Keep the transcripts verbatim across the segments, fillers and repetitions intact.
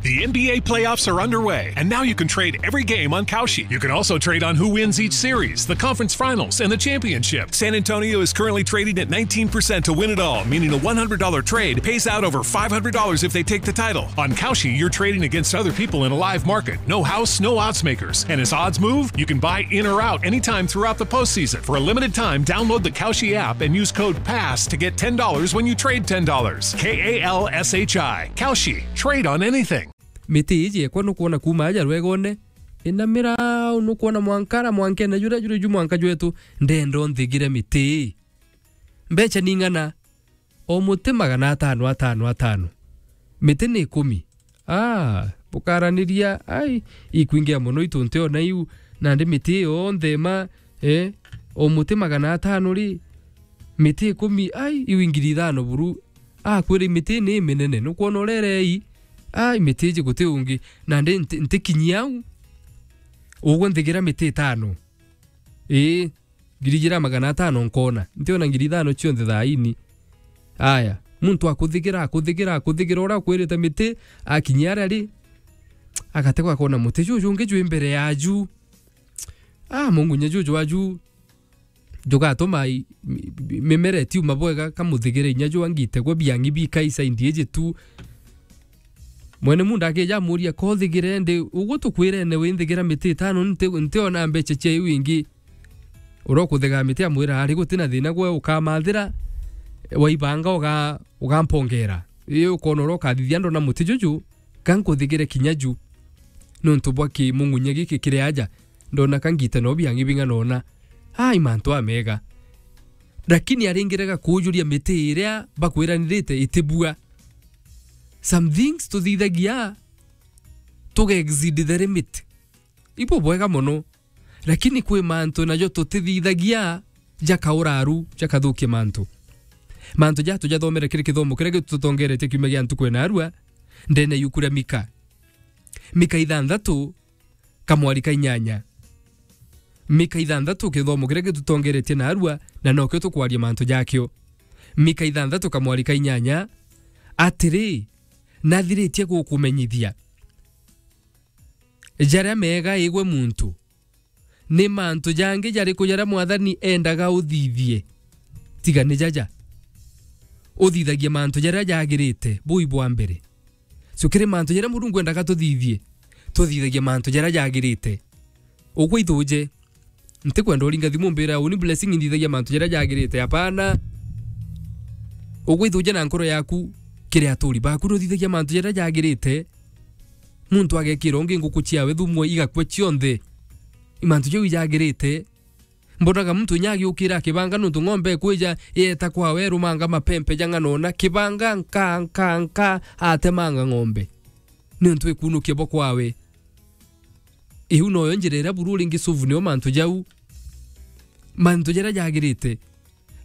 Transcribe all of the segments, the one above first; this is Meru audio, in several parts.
The N B A playoffs are underway, and now you can trade every game on Kalshi. You can also trade on who wins each series, the conference finals, and the championship. San Antonio is currently trading at nineteen percent to win it all, meaning a one hundred dollar trade pays out over five hundred dollars if they take the title. On Kalshi, you're trading against other people in a live market. No house, no odds makers. And as odds move, you can buy in or out anytime throughout the postseason. For a limited time, download the Kalshi app and use code pass to get ten dollars when you trade ten dollars. K A L S H I. Kalshi. Trade on anything. Miti iji ekwa nukwona kuuma aja rwegone, ina mirau nukwona mwankara mwankene juria juri ju mwanka jwetu, ndenda unthigire miti ii. Mbecha ni ng'ana? O muti magana atano, atano, atano. Miti ni ikumi. Ah, bukaraniria, ai, ikwingia mono itu ntiona iu, nandi miti iyo yonthe ima, eh, o muti magana atano ri, miti ikumi, ai, iu ingiri ithano buru. Akwira miti ni iminene, nukwona urerei, ai, miti iji guti ungi, nandi nti-, ntikinyi au, ugwe nthigira miti itano. Ii, ngiri ijiri na magana atano nkona. Ntiona ngiri ithano cionthe thaini. Aya, muntu akuthigira, akuthigira, akuthigira, uria akwirite miti, akinyia aria ri, agategwa akona muti juju ungi jwi mbere yaju. Ah, mungunya juju waju, jugatuma i-, mi-, mi-, mimera itiuma bwega, kamuthigire inya ju angitegwa biang'i bikaisa indi iji tu. Mwene munda akija amuria, "Kothigire ndi, ugu tukwirene winthigira miti itano, nti-, ntiona mbecha cia iu ingi." Uria ukuthiga miti amwira, "Ari guti na thina, gwe ukamathira, waibanga uga-, ugampongera. Ii ukona uria ukathithia ndona muti juju, ka nkuthigire kinya ju. Niuntu bwa kimung'unya giki kiri aja, ndona ka ngite no biang'i bing'ana ona." Ai, mantu amega. Lakini aringire gakujuria miti iria bakwiranirite itibua. Some things tuthithagia, tuga exceed the limit. Ibo bwega mono. Lakini kwi mantu najo tutithithagia, jakauraru, jakathukia mantu. Mantu ja tujathomere kiri kithomo kiria gitutongeretie kiumia gia ntuku ya narua, ndene yuku ria Mika. Mika ithanthatu, kamwari ka inyanya. Mika ithanthatu, kithomo kiria gitutongeretie narua, na nokio tukwaria mantu jakio. Mika ithanthatu, kamwari ka inyanya, atiri, nathiritie gukumenyithia jaria mega igwe muntu. Ni mantu jangi jariku jaria Mwathani endaga uthithie? Tiga ni jaja. Uthithagie mantu jaria jagirite, bui bwa mbere. So, kiri mantu jaria Murungu endaga tuthithie, tuthithagie mantu jaria jagirite. Ugwe ithuje, ntikwenda uringa thimu mbira, "Uni Blessing nthithagia mantu jaria jagirite." Hapana. Ugwe ithuje na nkoro yaku, kiri aturi baku nuthithagia mantu jaria jagirite. Muntu agekira ungi nguku ciawe thumu, igakua cionthe. I mantu jau ijagirite. Mbonaga muntu inya agiukira akibanga nuntu ng'ombe ikwija, ieta kwawe, irumanga mapempe ja ng'ana ona, kibanga nka, nka, nka, atemanga ng'ombe. Niuntu ikunukia bo kwawe. Iu noyo njira iria buru ringi suvu nio mantu jau. Mantu jaria jagirite.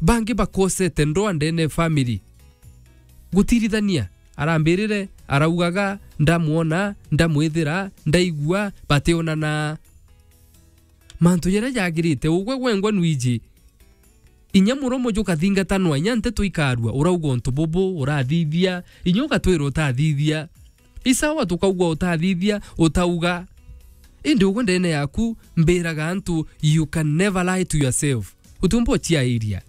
Bangi bakosete ndoa ndene family. Gutirithania, arambirire, araugaga, "Ndamwona, ndamwithira, ndaigua," bationana. Mantu jaria jagirite, ugwe gwengwa nwiji. Inya muromo jukathingatanwa, inya nteto ikarua, urauga untu bubu, urathithia, inya ugatwira utathithia. Isawa tukaugwa utathithia, utauga. Indi ugwe ndene yaku, mbiraga antu, you can never lie to yourself. Utiumba uciairia.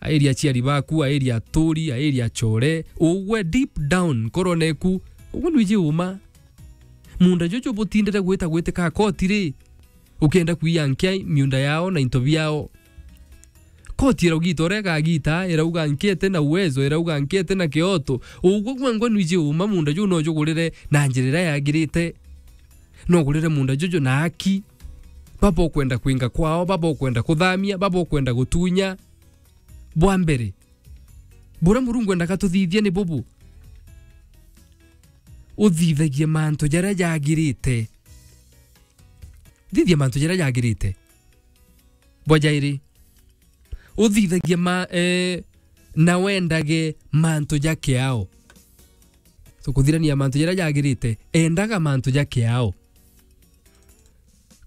Airia aciari baku, airia aturi, airia achore, ugwe deep down, nkorone ku, ugwe nwiji uma. Munda juju butindire gwita gwitika koti ri, ukienda kwiya nkia miunda yao na into biao. Koti iraugita uria igagita, irauga nkia iti na uwezo, irauga nkia iti na kioto. Ugwe gwengwa nwiji uma munda juu no jugurire na njira iria yagirite. No ugurire munda juju na aki. Baba ukwenda kwinga kwao, baba ukwenda kuthamia, baba ukwenda gutunya. Bwa mbere, buria Murungu endaga tuthithie ni bubu. Uthithagie mantu jaria jagirite. Thithia mantu jaria jagirite. Bwa jairi, uthithagie ma-, eh, na wendage mantu ja kiao. So, kuthirania mantu jaria jagirite, endaga mantu ja kiao.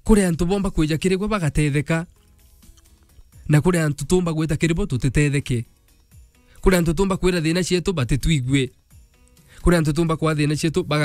Kuri antu bomba kwija kiri gwe bagatetheka, na kuri antu tumba gwita kiri bo tutitetheke. Kuri antu tumba kwira thina cietu batitwigue. Kuri antu tumba kwa thina cietu baga-,